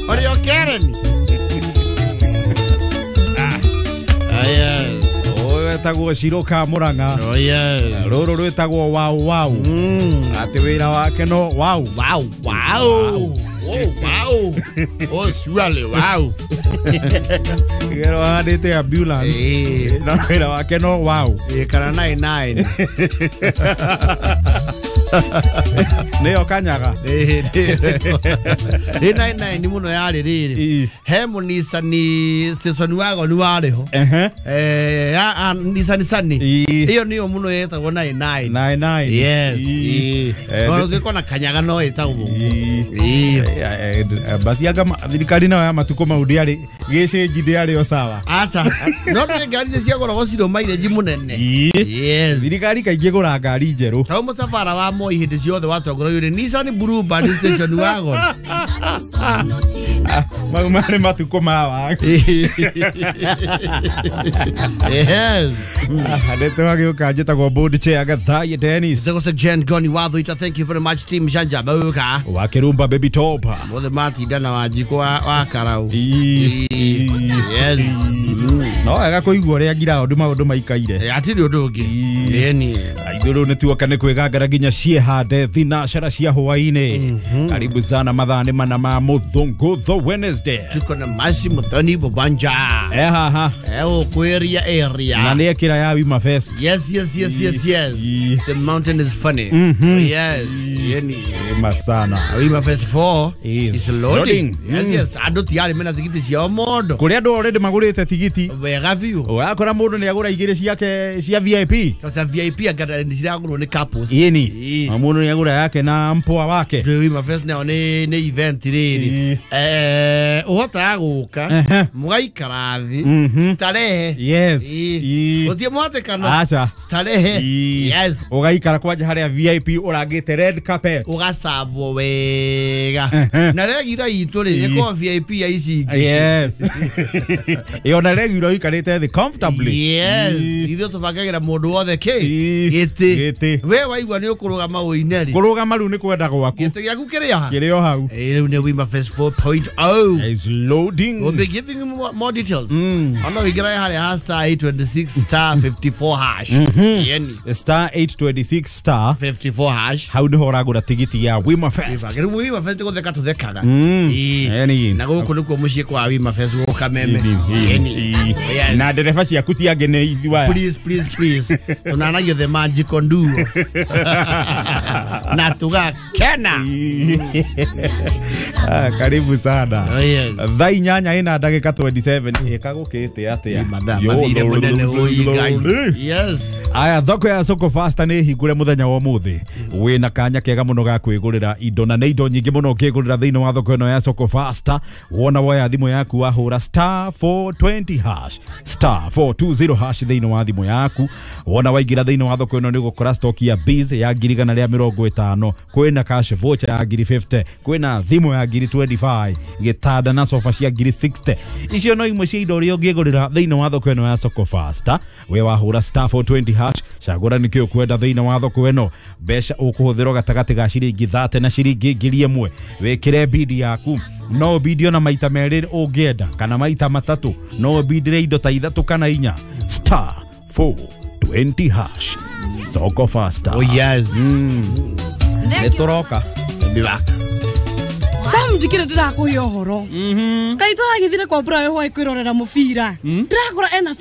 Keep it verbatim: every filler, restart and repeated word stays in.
Ũrĩ o Karen. Ah, yes. Ũyũ wetagwo Ciroka Murang'a. Oh, yes. Rũrũ rwĩtagwo wow wow. Mm. Atĩ wĩra wake no wow. Wow, wow. Oh, wow. Oh, surely, wow. Gero handĩte ambulance. Eh, Na wĩra wake no wow. eh, kana nine nine. Nĩyo kanyaga. Eh, eh, nine nine mũno yarĩ rĩrĩ. Ĩ. He mũnicani station wagon warĩ ho. Ehe. Eh, ya ah, Nissan Sunny. Ĩ. Ĩyo nĩyo mũno yetagwo nine nine. Nine nine. Yes. Ĩ. Ĩ. Eh, No gĩko na kanyaga no ĩtagwo. Ĩ. Ĩ. Eh, eh, basi anga ma- thirikari nayo ya matukũ mau ndĩarĩ gĩcĩnji ndĩarĩ o sawa. Aca. No nĩ ngari icio ciagũragwo cirĩ mileage mũnene. Ĩ. Yes. Thirikari kaingĩ gũra ngari njerũ. Tau mũcabara wa Moi hĩndĩ ciothe watongoragio nĩ Nissan Bluebird station wagon. Ah, mau marĩ matukũ ma wa. Yes. Nĩ twagĩũka njĩtagwo board chair Gathaiya Dennis. Zego Jen Goni Wathuita, thank you very much team Janja Bauka. Wa Kirumba Baby Top. Mothe matinda na Wanjikũ wa, wa Karau. Ĩ. Yes. No wega kũigua ũrĩa ngiraũndũ maũndũ maikaire. Eh, hatirĩ ũndũ ũngĩ. Ĩ. Ĩni. Ithuĩ rĩu nĩtuoka nĩ kwĩgangara nginya ciĩhande thinacara cia hwaĩ-inĩ. Karibu sana mathaa nĩ mana ma mũthũngũtho Wednesday. Tuko na Masi Muthoni Bubanja. E haha. Eh, ũkwĩria area. Na nĩ ekĩra ya Wima Fest. Yes, yes, yes, yes, yes. Ĩ. The mountain is funny. Yes. Ĩni. Ema sana. Wima Fest four Is is loading. loading. Yes, Mm. yes. Andũ tiarĩ mena tigiti ciao mondo. Kũrĩ andũ already magũrĩte tigiti. Wega biũ. Ũrakora mũndũ nĩ agũra igĩrĩ ciake cia V I P. Sasa V I P anga nĩ ciragũrwo nĩ couples. Ĩni. Ĩ. Na mũndũ nĩ agũra yake na mpoa wake. Ndũ Wima Fest nayo nĩ nĩ event rĩrĩ. Ĩ. Eh, ũhotaga gũka Ehe. mũgaikara thĩ Mhm. starehe. Yes. Ĩ. Ĩ. Gũtirĩ mũhatĩkano. Aca. Starehe. Ĩ. Yes. Ũgaikara kwanja harĩa V I P ũrangĩte red carpet. Ũgacabwo wega. Ehe. Na regira itũ rĩ Ĩ. ĩkorwo V I P ya ici ingĩ. Yes. Ĩ ona regular ũikarĩte thĩ comfortably. Yes. Ĩ. Ithuĩ tũbangagĩra mũndũ wothe kĩ? Ĩ. Gĩtĩ. Gĩtĩ. We waigua nĩ ũkũrũgama ũine rĩ. Kũrũgama rĩu nĩ kwenda gwaku. Gĩtĩ gĩaku kĩrĩ ha? Kĩrĩ o hau. Eh, rĩu nĩ Wima Fest four point oh. Is loading. We'll be giving you more, more details. Mm. Ono wĩingĩre harĩa ha star eight twenty-six star fifty-four hash. Yeni. Star eight twenty-six star fifty-four hash. hau nĩho ũragũra tigiti ya Wima Fest. Rĩu Wima Fest gũtheka tũthekaga. Mm. Ĩ. Eni. Na gũkũ nĩkuo mũciĩ kwa Wima Fest gũka meme. Ĩ. Yeni. Ĩ. Yes. Na ndereba ciaku ti angĩ nĩ ithuĩ aya. Please, please, please. Tunanagio the magic nduo. Na tugakena. Ah, karibu sana. Oh, yes. Thaa inyanya ina ndagĩka twenty-seven ĩkagũkĩte atĩa? Mathaa Yo, mathire mũnene ũi Ngai. Ĩ. Yes. Aya thoko ya Soko Fasta nĩ hingũre mũthenya wa ũmũthĩ. Wĩna kanya kega mũno ga kwĩgũrĩra indo na nĩ indo nyingĩ mũno ũngĩgũrĩra thĩinĩ wa thoko ĩno ya Soko Fasta. Wona woya thimũ yaku wahũra star four twenty hash star four two zero hash thĩinĩ wa thimũ yaku. Wona waingĩra thĩinĩ wa thoko ĩno nĩ ũgũkora stock ya biz ya ngiri igana rĩa mĩrongo ĩtano, kwĩna cash voucher ya ngiri fifty, kwĩna thimũ ya ngiri twenty-five, gĩtanda na sofa cia ngiri sixty. Icio no imwe cia indo iria ũngĩgũrĩra thĩinĩ wa thoko ĩno ya Soko Fasta. We wahũra star four twenty hash, cagũra nĩkĩ ũkwenda thĩinĩ wa thoko ĩno. Mbeca ũkũhũthĩrwo gatagatĩ ga ciringi thate na ciringi ngiri ĩmwe. Wĩkĩre bidi yaku. No bidi ona maita merĩ ũngĩenda kana maita matatũ. No bidire indo ta ithatũ kana inya. Star four twenty hash. Soko Fasta. Oh yes. Mm. Nĩ tũroka. Be back. Sam ndikire ndirakuhe ũhoro. Kaĩ tũragĩthire kwa Brian White kwĩrorera mũbira. Ndĩrakora ena